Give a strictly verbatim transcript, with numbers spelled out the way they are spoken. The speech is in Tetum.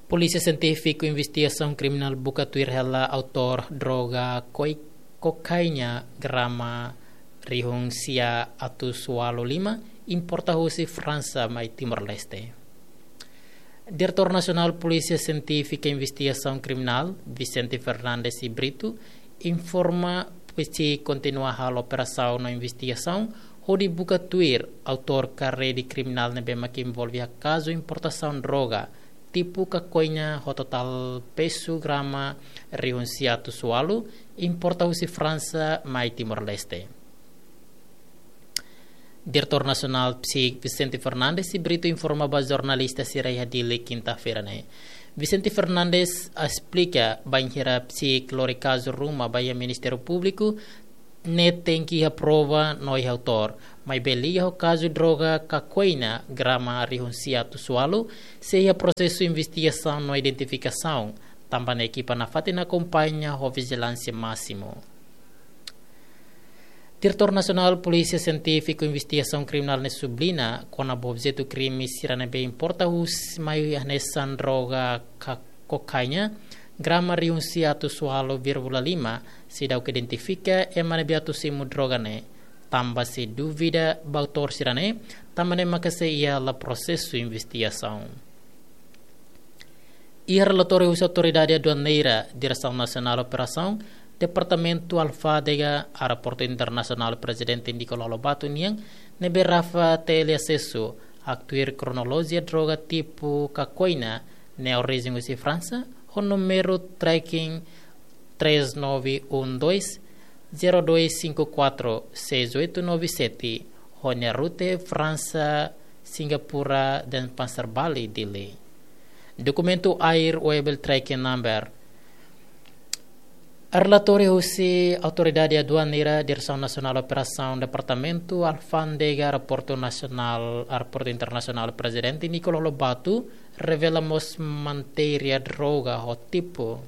Polísia Sientífiku Investigasaun Kriminál buka tuir hela autór droga koi-, kokaina grama rihun sia atus ualu lima, importa husi Fransa mai Timor-Leste. Diretór Nasionál Polísia Sientífika Investigasaun Kriminál, Vicente Fernandes e Brito, informa psi kontinua halo operasaun no investigasaun hodi buka tuir autór ka rede kriminál ne'ebé mak envolve iha kazu importasaun droga tipu kokaina ho totál pesu grama rihun sia atus ualu, importa husi Fransa mai Timor-Leste. Diretór Nasionál psi Vicente Fernandes e Brito informa ba jornalista sira iha Dili kinta-feira ne'e. Vicente Fernandes esplika bainhira psi lori kazu ruma ba iha Ministériu Públiku, ne'e tenke iha prova no iha autór. Maibé liga ho kazu droga kokaina grama rihun sia atus ualu, sei iha prosesu investigasaun no identifikasaun, tanba ne'e ekipa nafatin akompaña ho vijilánsia másimu. Diretór Nasionál Polísia Sientífiku Investigasaun Kriminál ne'e subliña kona-ba objetu krime sira ne'ebé importa husi mai hanesan droga ka-, kokaina grama rihun sia atus ualu vírgula lima, seidauk identifika ema ne'ebé atu simu droga ne'e, tanba sei dúvida ba autór sira ne'e, tanba ne'e maka sei iha hela prosesu investigasaun. Iha relatóriu husi Autoridade Aduaneira, Diresaun Nasionál Operasaun, Departamentu Alfándega, Aeroportu Internasionál Prezidente Nicolau Lobato nian, ne'ebé Rafa T L asesu, haktuir kronolojia droga tipu kokaina, ne'e orijen husi Fransa, ho númeru tracking três nove um dois, zero dois cinco quatro, seis oito nove sete, ho nia rute Fransa, Singapura, Denpasar, Bali, Dili. Dokumentu Air Webel Tracking Number. Relatóriu husi Autoridade Aduaneira, Diresaun Nasionál Operasaun, Departamentu Alfándega, Aeroportu Nasionál, Aeroportu Internasionál Prezidente Nicolau Lobato, revela mós matéria droga ho tipu